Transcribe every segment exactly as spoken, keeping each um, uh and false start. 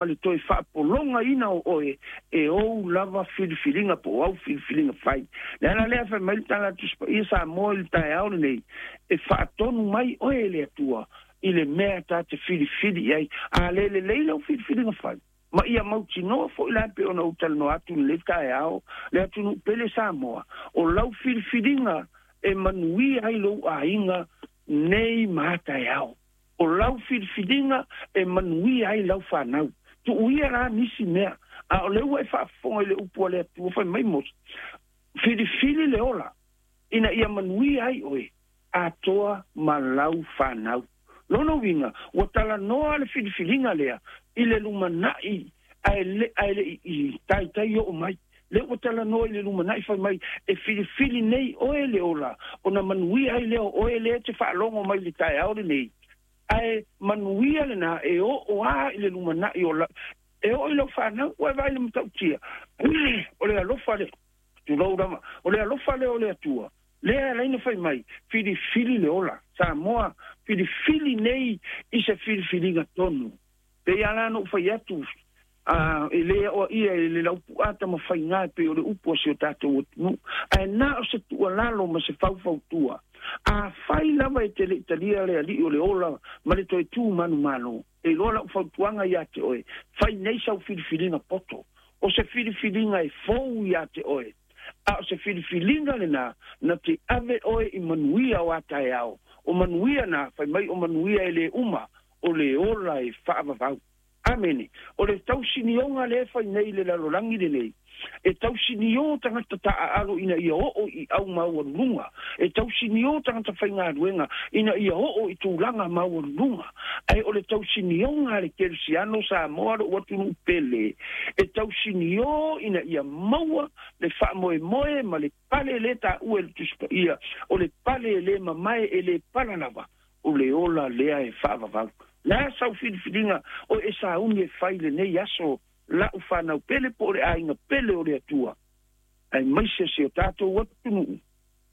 Le toe faapologaina o oe e ou lava filifiliga po o au filifiliga fai. Le ala lea fai mai le tala Tusi Paia Samoa i le taeao lenei, e faatonu mai oe e le Atua i le mea ta te filifili i ai. A le lelei lau filifiliga fai, ma ia mautinoa foi la pe ona ou talanoa atu i lenei taeao, le atunuu pele Samoa, o lau filifiliga e manuia ai lou aiga nei ma taeao. O lau filifiliga e manuia ai lau fanau. Tuuia la nisi mea, a o le ua e faafofoga i le upu a le Atua fai mai Mose, filifili le ola, ina ia manuia ai oe, atoa ma lau fanau. Lona uiga, ua talanoa le filifiliga lea i le lumanai ae le, ae le i, i taitai oo mai. Le ua talanoa i le lumanai fai mai, e filifili nei oe le ola, ona manuia ai lea o oe lea te faalogo mai le taeao lenei. Ae manuia lena e oo a i le lumanai o la, e oo i lau fanau, ua e vaai le matautia. O le alofa lea, tulou lava, o le alofa lea o le Atua, lea e ala ai ona fai mai, filifili le ola. Samoa, filifili nei i se filifiliga tonu. Pei lava la ona ou fai atu, a, e le aoaia e le laupu'a tamafaiga e pei o le upu a si o tatou atunuu. Ae na o se tuualalo ma se faufautua. Afai lava e te le i talia le Alii o le ola ma le toe tu manumalo, e iloa lau fautuaga iā te oe, fai nei sau filifiliga poto. O se filifiliga e fou iā te oe, a o se filifiliga lenā na te ave oe i manuia o a taeao. O manuia na, fai mai o manuia e lē uma, o le ola e faavavau. Amene. O le tausinioga lea e fai nei i le lalolagi lenei, e tausinio tagata taaalo ina ia oo i au maualuluga, e tausinio tagata faigaluega ina ia oo i tulaga maualuluga, ae o le tausinioga a le kerisiano Samoa lou atunuu pele, e tausinio ina ia maua le faamoemoe ma le pale lē taua e le Tusi Paia, o le pale e lē mamae e lē pala lava, o le ola lea e faavavau. Le a sau filifiliga o e sauni e fai lenei aso la'u fanau pele po o le aiga pele o le Atua, aemaise si o tatou atunuu,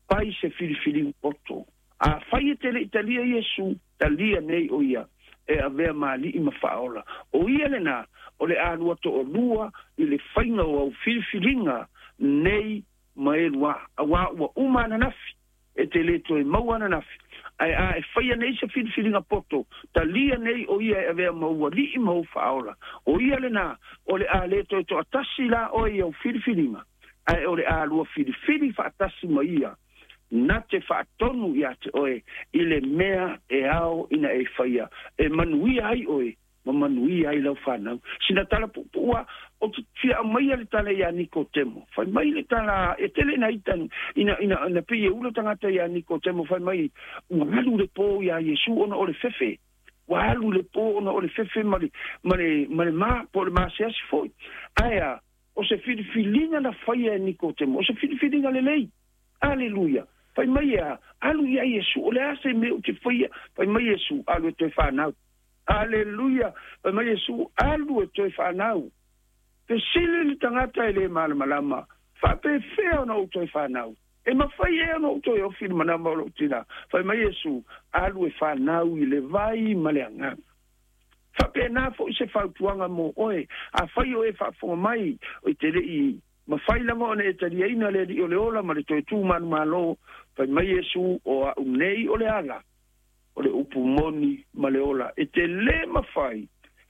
fai se filifiliga poto. Afai e te le i talia Iesu, talia nei o ia e avea ma Alii ma Faaola. O ia lenā o le a lua toalua i le faiga o au filifiliga nei ma e lua, auā ua uma ananafi, e te lē toe maua ananafi. Ae a e faia nei se filifiliga poto, talia nei o ia e avea ma ou Alii ma ou Faaola, o ia lenā o le a lē toe toatasi la oe i au filifiliga, ae o le a lua filifili faatasi ma ia na te faatonu iā te oe i le mea e ao ina e faia e manuia ai oe ma manuia ai lau fanau. Sina tala puupuu lava, ou te fia aumaia le tala iā Nikotemo. Fai mai le tala, e tele ina ita ina, ina, ina pei e ula tagata iā Nikotemo, fai mai ua alu le pō iā Iesu ona o le fefe. Ua alu le pō ona o le fefe ma le, ma le, ma le ma, po o le maseasi foi. Ae a, o se filifiliga na faia e Nikotemo, o se filifiliga lelei. Aleluia! Fai mai e a, alu iā Iesu, o le a se mea ou te faia? Fai mai Iesu, alu e toe fanau. Aleluia! Fai mai Iesu, alu e toe fanau. Fesili le tagata e lē malamalama, faapefea ona ou toe fanau? E mafai ea ona ou toe ofi i le manama o lou tinā? Fai mai Iesu, alu e fanau i le vai ma le Agaga. Faapena foi se fautuaga mo oe, afai o e faafofoga mai, e te le i mafai lava ona e taliaina le Alii o le ola ma le toe tu manumalo, fai mai Iesu, o a'u nei o le ala, o le upu moni ma le ola. E te lē mafai,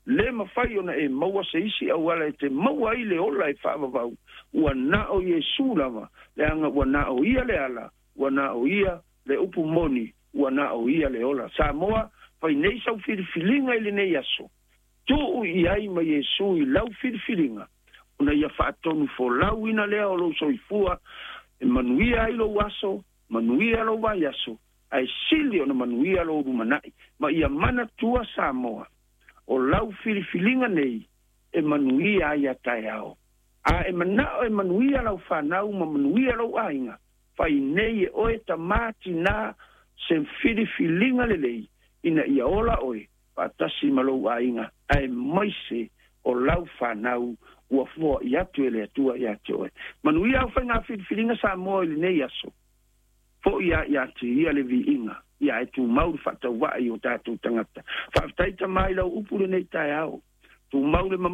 lē mafai ona e maua se isi auala e te maua ai le ola e faavavau, ua na o Iesu lava, leaga ua na o ia le ala, ua na o ia le upu moni, ua na o ia le ola. Samoa, fai nei sau filifiliga i lenei aso, tuu i ai ma Iesu i lau filifiliga, ona ia faatonu folauina lea o lou soifua, e manuia ai lou aso, manuia lou vaiaso, ae sili ona manuia lou lumanai. Ma ia manatua Samoa, o lau filifiliga nei e manuia ai a taeao. A e manao e manuia lau fanau ma manuia lou aiga, fai nei e oe tamā tinā se filifiliga lelei ina ia ola oe faatasi ma lou aiga, aemaise o lau fanau ua foai atu e le Atua iā te oe. Manuia au faiga filifiliga Samoa i lenei aso. Fo'i lava iā te ia le viiga, ia e tumau le faatauvaa i o tatou tagata. Faafetai Tamā i lau upu lenei taeao. Tumau le